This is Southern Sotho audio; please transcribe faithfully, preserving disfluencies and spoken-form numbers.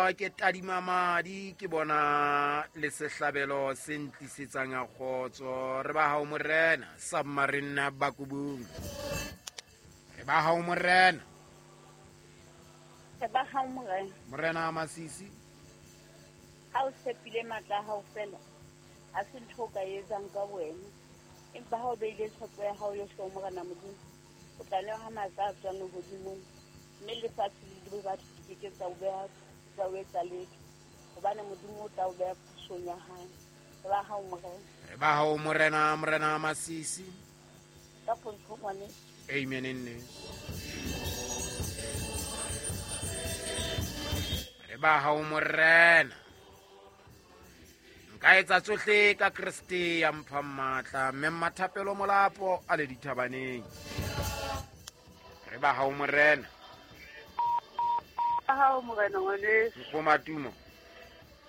Ke tadima madi ke bona le sehlabelo se ntlisetsang a kgotso. Re ba hao morena, Submarine Bakubung. Re ba hao morena. Re ba hao morena. Morena Masisi. Ha o tshepile matla a hao fela, ha se ntho o ka e etsang ka wena. Empa ha o beile tshepo ya hao yohle ho Morena Modimo, o tla newa ha matla a tswang lehodimong, mme lefatshe le dibe batho di ke ke tsa o beha, tsa o etsa letho, hobane Modimo o tla o beha pusong ya hae. Re ba hao morena. Re ba hao morena, Morena Masisi. Ka pontsho ngwaneso. Amen nne. Re ba hao morena. Nka etsa tsohle ka Kreste ya mphang matla, mme Mmathapelo Molapo a le dithabaneng. Re ba hao morena. Ba hao morena ngwaneso. Nkgomatumo.